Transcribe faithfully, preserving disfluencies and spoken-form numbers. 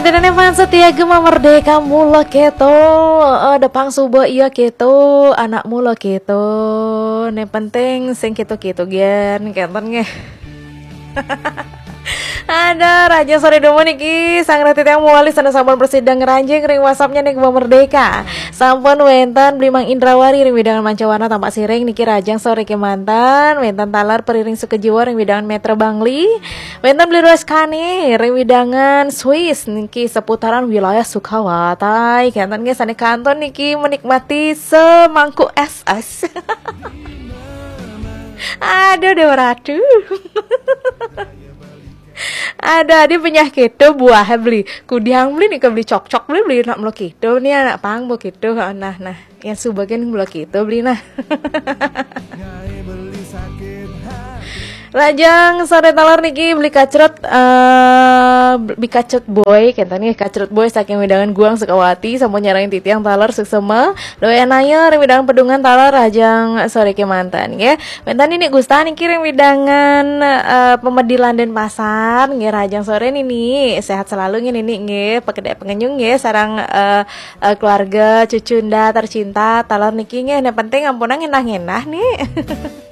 Dene fans setia Gema Merdeka mula keto. Eh, depang suba iya keto, anak mula keto. Ne penting sing keto-keto gen, kenten nggih. Ada Raja sore dulu niki, sang reti yang muali sana sampun presida ngeranjing ring WhatsApp-nya nih Gema Merdeka. Sampun wenten Blimang Indrawari ring widangan Mancawana Tampak Siring niki Rajang sore kemanten, wenten taler Periring Sukejiwa ring widangan Metra Bangli, wenten Bli Roskani ring widangan Swiss niki seputaran wilayah Sukawatai. Kenten nggih sane kanton niki menikmati semangkuk es es. Aduh Dewa Ratu. Ada adi penyah keto buah beli. Kudiang beli nih beli cok-cok beli beli nak melo keto nih anak pang bo keto. Nah, nah. Yang subagian melo keto beli nah. Lajang sore taler niki beli kacret eh beli kacret boy kenten nggih kacret boy saking widangan Guang Sukawati sampun nyarengin titiang taler suksema doyan naya ring widangan Pedungan taler Rajang sore kemanten nggih. Wenten niki Gusta niki ring widangan eh, Pemedilan Denpasar nggih Rajang sore nini sehat selalu nggih nini nggih pekedek pengenyung nggih sarang eh, eh, keluarga cucunda tercinta taler niki nggih yang penting ampunang ngenah-ngenah nih.